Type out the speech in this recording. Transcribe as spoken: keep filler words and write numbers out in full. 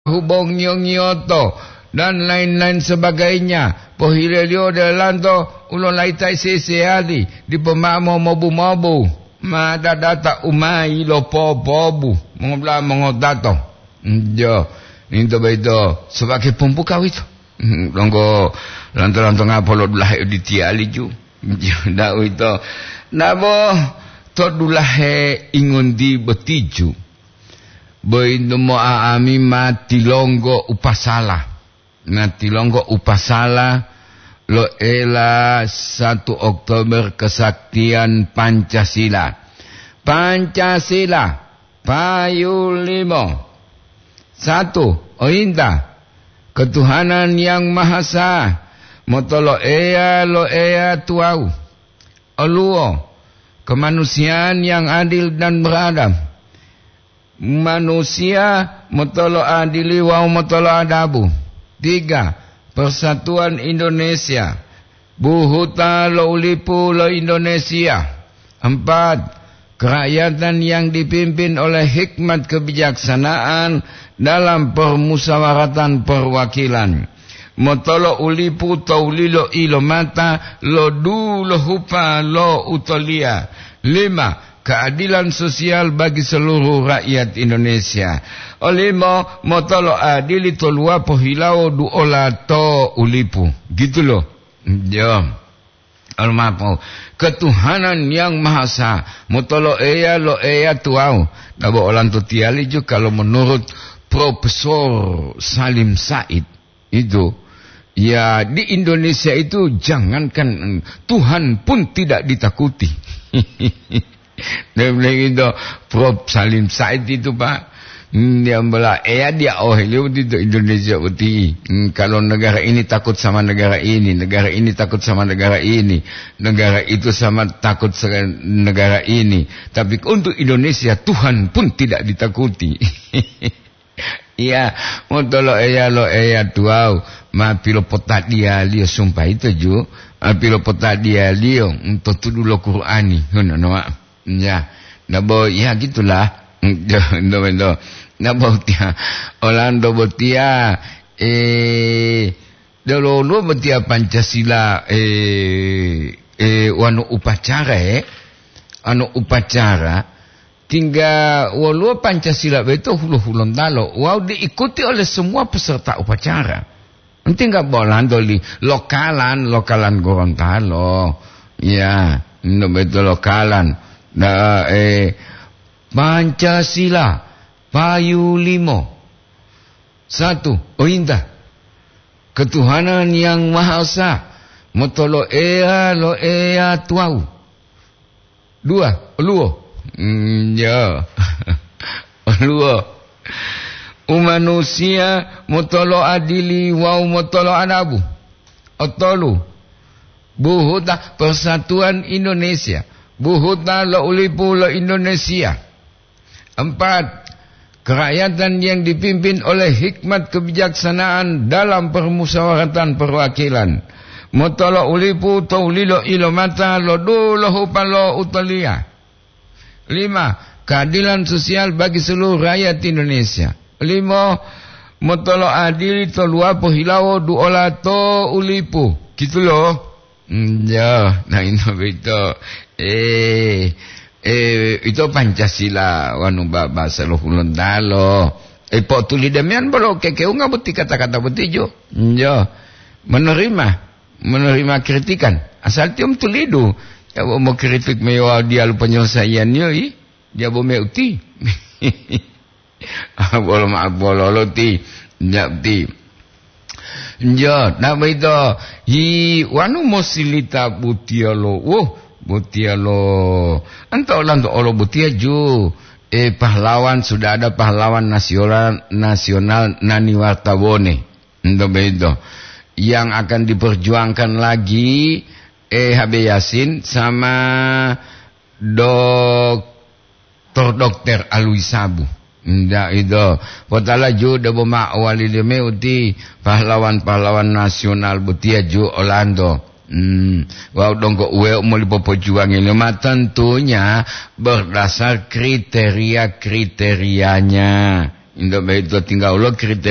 hubongiyo-ngiyoto, dan lain-lain sebagainya. Pohileliyo ode olanto u lolaita seseyali, dipo mao mobu-mobu, ma dadata u ma yilopopobu, mongola mongotato. Jo, into boyito sobake pumpuka wito. Donggo lanto-lantonga polo dulahe oditiyali ju. Jo, da uwito. Nabo to dulahe ingonti botiju. Boyito mo'a'ami ma tilonggo upasala. Ma tilonggo upasala lo ela satu Oktober kesaktian Pancasila. Pancasila, payu limo. Satu, oyinta, ketuhanan yang maha esa, motolo Eya lo Eya tuwawu. Oluwo, kemanusiaan yang adil dan beradab. Manusia motolo adili wawu motolo adabu. Tiga, persatuan Indonesia, buhuta lo ulipu lo Indonesia. Empat, kerakyatan yang dipimpin oleh hikmat kebijaksanaan dalam permusyawaratan perwakilan. Motolo ulipu to wulilo-ilomata lo dulohupa lo utoliya. Lima, keadilan sosial bagi seluruh rakyat Indonesia. Olimo, motolo adili to luwapo hilawo duola to ulipu. Gitu loh. Jo. Almapo, ketuhanan yang maha esa, motolo Eya lo Eya tuwawu. Nabo olanto tiyali ju kalau menurut Profesor Salim Said itu, ya, di Indonesia itu jangankan, mm, Tuhan pun tidak ditakuti. Dia bilang gitu, Prof Salim Said itu, Pak. Hmm, dia bilang, "Eya dia oh, beliau itu Indonesia boti. Hmm, kalau negara ini takut sama negara ini, negara ini takut sama negara ini, negara itu sama takut sama negara ini. Tapi untuk Indonesia, Tuhan pun tidak ditakuti." Iya, motolo Eya lo Eya tuwawu, ma pilopotadiyaliyo sumpah ito ju, ma pilopotadiyaliyo, mm, to tudu lo Qur'ani, ngono, no, Pak. Ya, nabo, ya gitulah. Ndo, ndo, ndo. Nabo tiya, olanto botiya, eh, delo woluwo botiya Pancasila, eh, eh, wanu upacara, eh, anu upacara, tingga woluwo Pancasila boyito hulo-hulontalo wawu diikuti oleh semua peserta upacara. Tingga bo olanto li lokalan, lokalan Gorontalo. Ya, ndo boyito lokalan. Nah, eh, Pancasila, payu limo. Satu, oyinta. Ketuhanan yang Maha Esa, motolo Eya lo Eya tuwawu. Dua, oluwo. Mm, ya. Oluwo. Umanusiya motolo adili wawu motolo adabu. Otolu, buhuta persatuan Indonesia, buhuta lo ulipu lo Indonesia. Empat, kerakyatan yang dipimpin oleh hikmat kebijaksanaan dalam permusyawaratan perwakilan. Motolo ulipu to wulilo ilomata lo dulohupa lo utoliya. Lima, keadilan sosial bagi seluruh rakyat Indonesia. Limo, motolo adili to luwapo hilawo duola to ulipu. Gitu lo. Mm, ya, nah, ino boyito. Eh, eh, ito Pancasila wanu ba-, bahasa lo Hulontalo. Eh, po'otuli demiyan bolo kekewunga boti kata-kata boti jo. Mm, ya. Menerima, menerima kritikan. Asal tiyo mutulidu. Ya, bo mokritik meyo diyalu penyelesaianniyo, i, diya bo meuti. Bolo ma'o bololo ti, nja ti. Njo, na boyito, hi wanu mosilita butiyalo, woh, butiyalo. Anta olanto olo butiya ju, eh, pahlawan, sudah ada pahlawan nasional, nasional nani wartabone. Ento boyito. Yang akan diperjuangkan lagi, eh, H B Yasin sama Dok-, Tor Dokter Alwi Sabu. Nda ito. Potala ju debo ma wali deme uti pahlawan-pahlawan nasional botiya ju Olanto. Hmm. Wau donggo uwe moli popojuwangi lima tentunya berdasar kriteria-kriterianya. Indo boyito tingga ulo kriteria